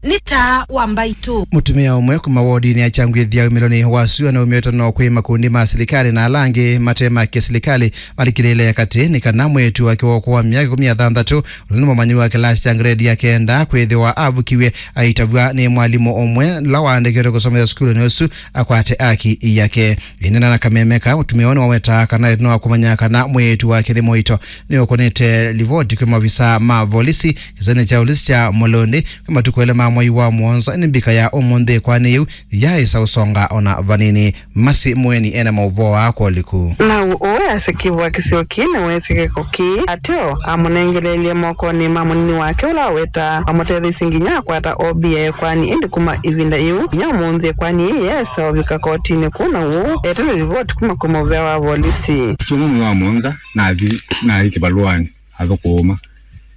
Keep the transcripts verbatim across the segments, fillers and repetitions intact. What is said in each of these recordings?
Nĩ taa wa mbaitũ. Mũtumĩa ũmwe kuma wodinĩ ya Kyangwĩthya umĩlonĩ wa sua na umĩte no kwĩ makundi ma silikalĩ na ala angĩ mate ma kĩsilikalĩ malikĩlĩle katĩ nĩ kana mwĩĩtu wake wa ũkũũ wa myaka ĩkũmi na thanthatũ, ũla nĩ mũmanyĩw'a wa kĩlasi kya ngredi ya kenda, kwĩthĩwa avukiw'e aitavw'a nĩ mwalimũ ũmwe ũla waandĩkĩtwe kũsomethya sukulunĩ ũsu akwate aki yake. Ĩnena na kameme ka, mũtumĩa ũũ nĩwawetaa kana ĩtina wa kũmanya kana mwĩĩtu wake nĩ mũito, nĩũkũnĩte livoti kwĩ maovisaa ma volisi kĩsionĩ kya volisi kya Mulũndi kwĩ matukũ elĩ ma mwei wa mũonza. Nĩ mbika ya ũmũnthĩ ĩkoani yĩu yaaĩsa ũsonga ona vanini. Masi Mweni ena maũvoo aa kwa ũliku. Nau ũũ easya kĩvũa kĩseo kĩĩ nĩweesĩ kĩko kĩĩ. Ateo amũnengeleelye mokonĩ ma mũnini wake ũla wawetaa wamũtetheisye nginya akwata O B ya ĩkoani, ĩndĩ kuma ĩvinda yĩu nginya ũmũnthĩ ĩkoani yĩĩ yaesa ũvika kotinĩ kũu, na ũũ etele livoti kuma kwĩ mũvea wa volisi. Kyumwa mwei wa mũonza nathi, nathi kĩvalũanĩ athũkũma.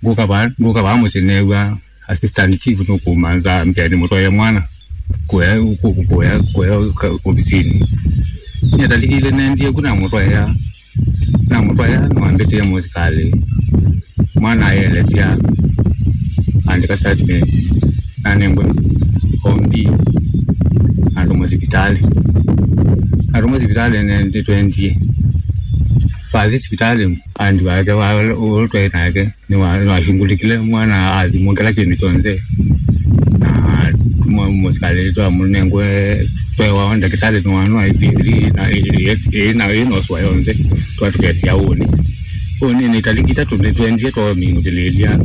Ngũka vaa, ngũka vaa mũsyĩ neew'a assistant chief nũkũmanza mbĩa nĩmũtwaĩe mwana kũya, kũ-, kũya, kũya ka-, ovisinĩ. Nyie talikile nendie ku namũtwaĩa, namũtwaĩa nĩwambĩtĩe mũsikalĩ. Mwana aelesya, andĩka statement, nanengwe O B, atũmwa sipitalĩ. Atũmwa sipitalĩ nendie twendie. Vathi sipitalĩ, andi wake wa, ũla twaĩ nake nĩwa-, nĩwashungulikile mwana athimwa kĩla kĩndũ kyonthe. Na tuma mũsikalĩ twamũnengwe twewa ndakĩtalĩ nĩwanwa I P three na ĩ-, ĩ-, ĩ-, na ĩnoswa yonthe, twatũkesya ũnĩ. Ũnĩ nĩ taliki itatũ nĩtwendie twamingũthĩlĩlya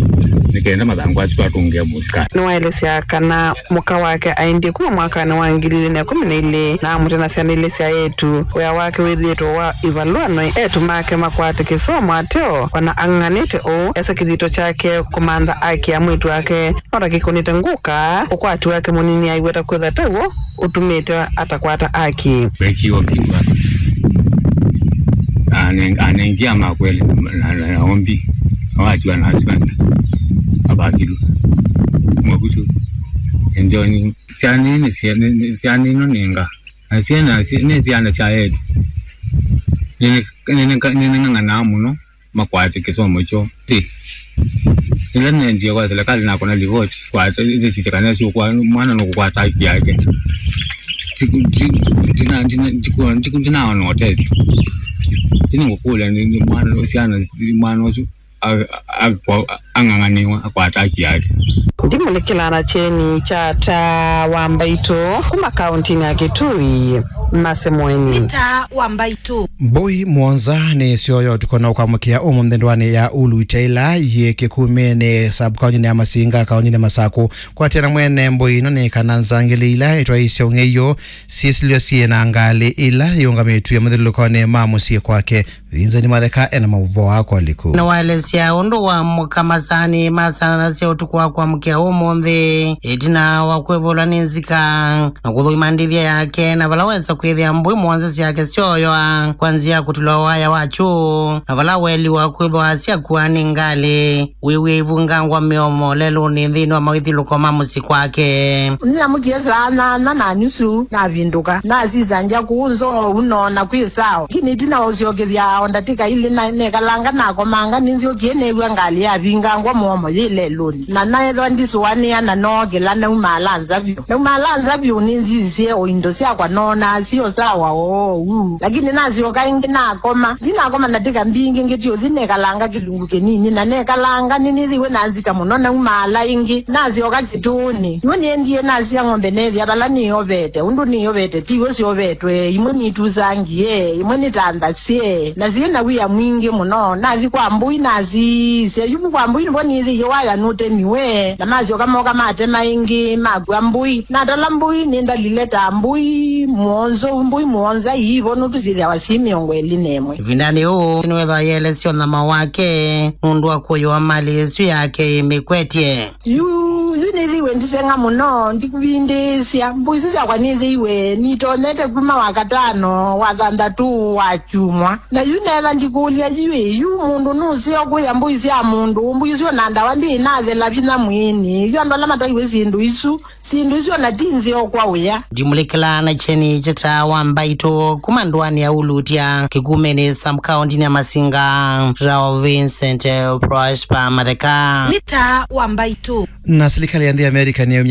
nĩ kenda mathangũ asu twatũngĩa mũsikalĩ. Nĩwaelesya kana mũka wake aendie kuma mwakanĩ wa ngili ilĩ na ĩkũmi na ilĩ na amũte na syana ilĩ sya eĩtu. Wĩa wake wĩthĩĩtwe wa ivalũa no eĩtu make makwate kĩsomo. Ateo ona ang'ang'anĩte ũu, esa kĩthito kyake kũmantha aki ya mwĩĩtu wake no ta kĩkũnĩte ngũka. Ũkwati wake mũnini aiweta kwĩtha taw'o ũtumĩte atakwata aki. Wekiwa kiwa anengia makweli na, na, na ombi awatiwa na husband abakilu mwakusu enjoni. Syana nĩ syana, nĩ syana ino ninga. Na syana si-, nĩ syana sya etu. Nĩnĩng'ang'anaa mũno makwate kĩsomo kyoo. Ti ĩla nendie kwa silikalĩ nakona livoti kwata ĩsisya kana syũkwa mwana nũkũkwata haki yake. Ndiku-, ndi-, ndina-, ndina-, ndiku-, ndiku-, ndinaona ũtethyo. Ĩndĩ ngũkũlya nĩ, nĩ mwana, syana, mwana ũsu a-, a-, a-, ang'ang'anĩwa akwata haki yake. Ndimũlikĩla na kyeni kya taa wa mbaitũ kuma kauntinĩ ya Kitui, Mase Mweni. Nĩ taa wa mbaitũ. Mbũi mũonza nĩ syoyo tũkona ũkwamũkĩa ũmũnthĩ ndũanĩ ya Ulu Itaila yĩ Kĩkumĩnĩ, sub-kauntinĩ ya Masinga, kauntinĩ ya Masakũ. Kwatĩana mwene mbũi ino nĩ kana nzangĩlĩ ila itwaĩĩsya ũng'ei ũũ syĩsilwe syĩ na ngalĩ ila iũngamĩtw'e mathyũlũlũkonĩ ma mũsyĩ kwake. Vincent Matheka ena maũvoo aa kwa ũliku. Nĩwaelesya ũndũ wa mũka masaanĩ ma saa nana sya ũtukũ wa kwamũkĩa ũmũnthĩ, ĩtina wa kwĩvũla nĩ nzika na kũthũima ndĩthya yake, na vala wesa kwĩthĩa mbũi mũonza syake syoyoa kwa nzĩa ya kũtulwa waya wa kyũũ, na vala weliwa kwĩthwa syakua nĩ ngalĩ. Wĩw'e ivungangwa mĩomo lelũnĩ nthĩnĩ wa mawĩthyũlũko ma mũsyĩ kwake. Nĩnamũkie saa nyanya na nusu, navindũka, nasisangya kũũ nzou noona kwĩ sawa. Lakini ĩtina wa ũsyokethya o ndatĩka ilĩ, na nekalanga nakomanga, nĩnzyũkie neew'a ngalĩ yavingangwa mũomo yĩ lelũnĩ. Na neethwa ndisũanĩa na nookĩla, naumaala nza vyũ. Naumaala nza vyũ, nĩnzisisye o indo syakwa noonaa syo sawa oou. Lakini nasyoka ĩngĩ nakoma. Ndinakoma ndatĩka mbingĩ, ngĩti ũthi nekalanga kĩlungu kĩnini, na nekalanga nĩnĩthĩiwe na nzika mũno, naumaala ĩngĩ, nasyoka kĩtũũnĩ. Yu nĩendie nasya ng'ombe neethĩa vala nĩyovete, ũndũ nĩyovete tiw'o syovetwe, imwe nitusangie, imwe nĩtanthasye, na syĩ na wia mwingĩ mũno. Nathi kwa mbũi, nasisya yu kwa mbũi nĩvo nĩthĩie waya nũtemiwe, na masyoka moka matema ĩngĩ, makw'a mbũi. Natala mbũi, nĩndalile ta mbũi mũonzo, mbũi mũonza iivo nũndũ syĩthĩawa syĩ mĩongo ĩlĩ na ĩmwe. Ĩvindanĩ ũũ, nĩwethwa yelesya ũnyama wake nũndũ wa kũyũa malĩ ĩsu yake ĩmĩkwetye. Yu, yu nĩthĩiwe ndiseng'a mũno, ndikũvindĩĩsya. Mbũi isu syakwa nĩthĩiwe nitonyete kuma Wakatano, Wathanthatũ, Wakyumwa. Na yu neetha ndikũlya yu ĩ, yu mũndũ nũseo kũya mbũi sya mũndũ, mbũi isu ona ndawa ndĩĩ nathela vinya mwĩĩnĩ. Yu andũ ala matwaiwe syĩndũ isu, syĩndũ isu ona ti nzeo kwa wĩa. Ndimũlĩkĩla na kyeni kya taa wa mbaitũ kuma ndũanĩ ya Ulutya, Kĩkumĩnĩ, sub-kauntinĩ ya Masinga, Rao Vincent, eh, Prosper Matheka. Nĩ taa wa mbaitũ. Na silikalĩ ya nthĩ ya Amerika nĩyaumya